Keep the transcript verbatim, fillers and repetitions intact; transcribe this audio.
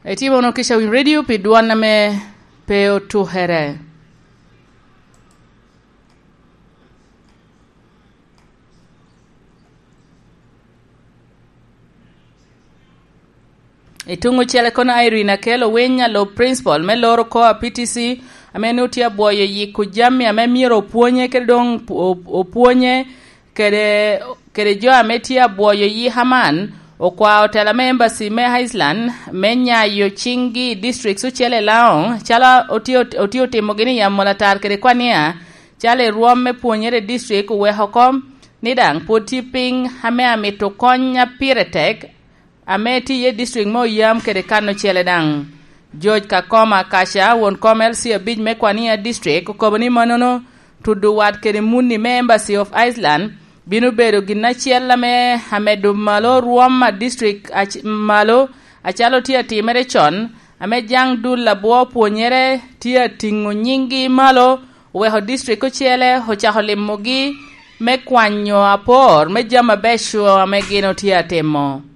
Itimo wunu kica Winy Radio pi dwan ame pe otukere. I tuŋ ocele kono, Irene Akel Owiny, alub principal me loro kor a P T C, ame nu tye abwoyo yiko jami ame myero opwonye, kede doŋ op-, opwonye kede, kede jo ame tye abwoyo yika man, okwao tela me embassy me Iceland me nyayo ciŋgi i districts ocele i Laŋo, calo otye, otye otimogi ni i Amolatar kede Kwania, calo i rwom me pwonyere i district oweko oko ni daŋ pwod tye piny ame amito kony a pire tek, ame tye iye district me Oyam kede kan ocele daŋ. George Kakoma Kaca, won kom L C abic me Kwania District, okobo ni mannono tudo wat kede muni me Embassy of Iceland bino bedo gin acel ame amedo malo rwom a district ac-, malo, acalo tye atimere con, ame jaŋ dul abwo pwonyere tye atiŋo nyiŋgi malo, oweko district ocele ocako limogi me kwanyo apor me jami abeco ame gin otye atimo.